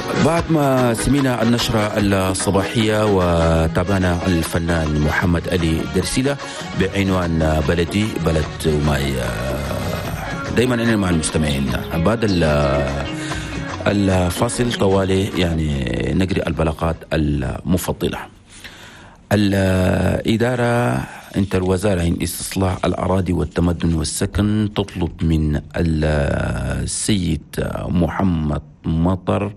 بعد ما سمينا النشرة الصباحية وتابعنا الفنان محمد علي درسيلة بعنوان بلدي بلد وماي، دايما أنا مع المستمعين. بعد الفاصل طوالي يعني نقري البلاغات المفضلة. الإدارة انت الوزارة عن استصلاح الأراضي والتمدن والسكن تطلب من السيد محمد مطر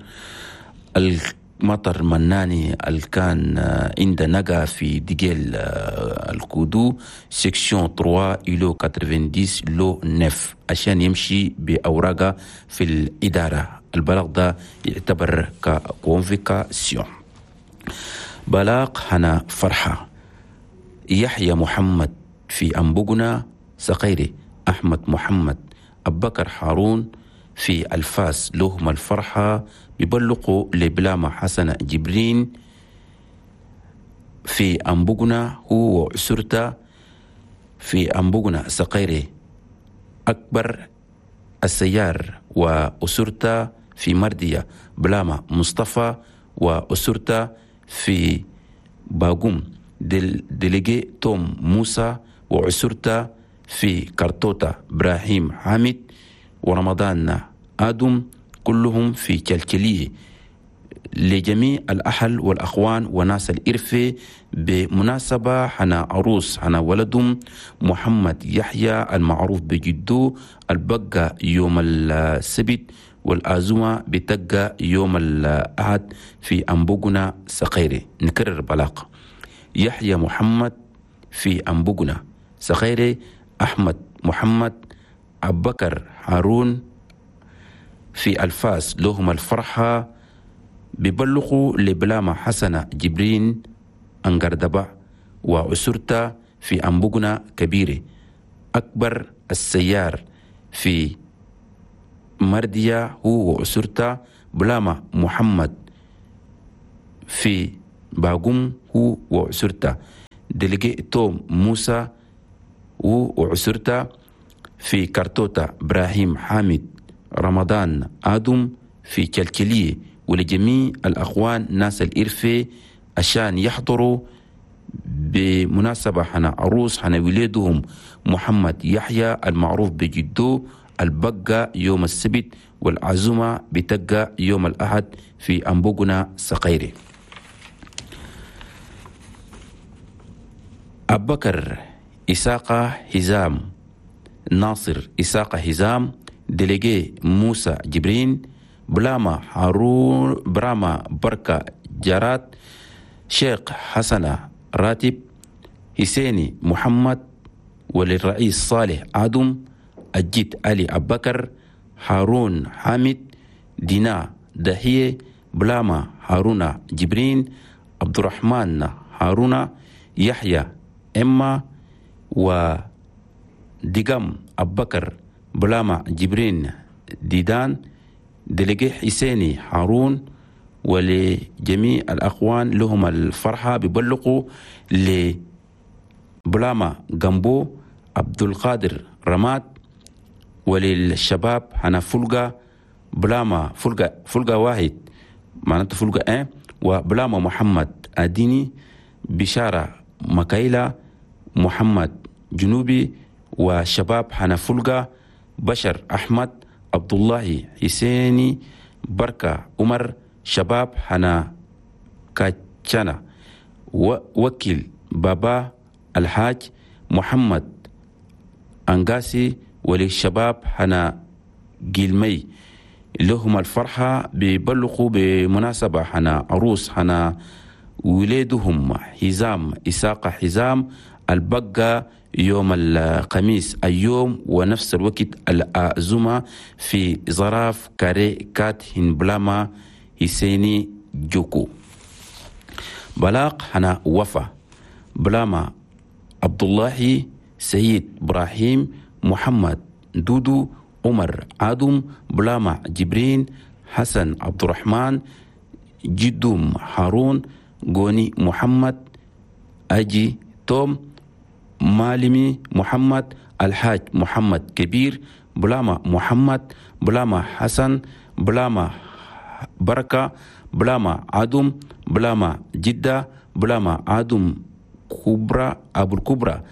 المطر مناني الكان عند نجا في ديجيل الكودو section 3 îlot 90 lot 9 عشان يمشي بأوراقه في الإدارة. البلاغ ده يعتبر ك convocation. بلاغ هنا فرحة يحيى محمد في أنبوغنا سقيري، أحمد محمد أبكر هارون في الفاس لهم الفرحة بيبلغوا لبلامة حسن جبرين في أنبوغنا هو وأسرته في أنبوغنا سقيري، أكبر السيار وأسرته في مردية، بلامة مصطفى وأسرته في باقوم، délégué توم موسى وأسرته في كرتوتا، إبراهيم حامد ورمضان آدم كلهم في كلكلية. لجميع الأهل والأخوان وناس الإرفة بمناسبة حنا عروس حنا ولدهم محمد يحيى المعروف بجدو البقى يوم السبت والآزمة بتقى يوم الأحد في أنبوغنا سقيري. نكرر بلاغ يحيى محمد في أنبوغنا سقيري، أحمد محمد أبكر هارون في الفاس لهم الفرحة ببلغوا لبلامة حسنة جبرين أنقردبا وأسرتا في أنبوغنا كبيرة، أكبر السيار في مردية هو وأسرتا، بلامة محمد في باقوم هو وأسرتا، délégué توم موسى هو وأسرتا في كرتوتا، إبراهيم حامد رمضان آدم في كلكلية. ولجميع الأخوان ناس الإرفة عشان يحضروا بمناسبة حنا عروس حنا ولادهم محمد يحيى المعروف بجدو البقى يوم السبت والعزومة بتقى يوم الأحد في أنبوغنا سقيري. أبكر إساقة هزام ناصر إساقة هزام délégué موسى جبرين بلاما هارون براما بركة جارات شيخ حسنة راتب حسيني محمد وللرئيس صالح آدم الجد علي أبكر هارون حامد دينا دهية بلاما هارون جبرين عبد الرحمن هارون يحيى إما ودقم أبكر بلاما جبرين ديدان délégué حسيني هارون. ولجميع الأخوان لهم الفرحة ببلغوا لبلاما جامبو عبد القادر رماد وللشباب هنا فلقة بلاما فلقة واحد معناته فلقة اه وبلاما محمد أديني بشارة مكايلة محمد جنوبي وشباب هنا فلقة بشر أحمد عبد الله حسيني بركة عمر شباب هنا كاتشانا ووكيل بابا الحاج محمد أنغاسي وللشباب هنا جيلمي لهم الفرحة بيبلغوا بمناسبة هنا عروس هنا ولادهم حزام إساقة حزام البقى يوم الخميس اليوم ونفس الوقت الأزمة في زراف كاري كات هنبلاما حسيني جوكو. بلاق هنا وفا بلاما عبد الله سيد إبراهيم محمد دودو عمر آدم بلاما جبرين حسن عبد الرحمن جدوم هارون غوني محمد أجي توم مالمي محمد الحاج محمد كبير بلاما محمد بلاما حسن بلاما بركة، بلاما عدم، بلاما جدة، بلاما عدم كبرى أبو الكبرى،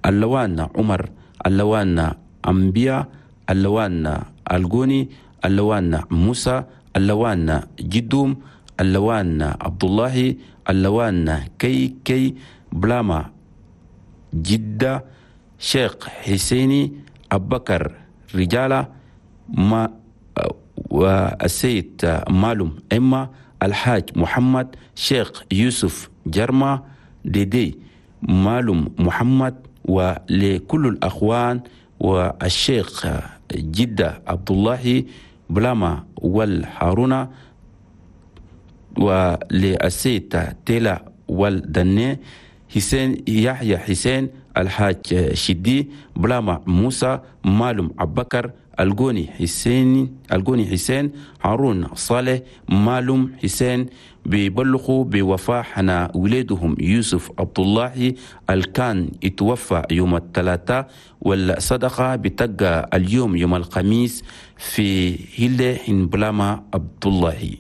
اللوان عمر، اللوان أنبياء، اللوان الجوني، اللوان موسى، اللوان جدوم، اللوان عبد الله، اللوان كي كي، بلاما جدة، شيخ حسيني، أبكر رجالة، ما والسيد مالوم إما، الحاج محمد، شيخ يوسف جرما ديدي، مالوم محمد، ولكل الأخوان والشيخ جدة عبد الله بلاما والهارونة، وللسيد تيلا والدني، حسين يحيى حسين، الحاج شدي، بلاما موسى، مالوم أبكر، الجوني حسين، الجوني حسين، هارون صالح، مالوم حسين، بيبلغوا بوفاة حنا ولادهم يوسف عبد الله الكان اتوفى يوم الثلاثاء، والصدقة بتبقى اليوم يوم الخميس في هيلة بلاما عبد الله.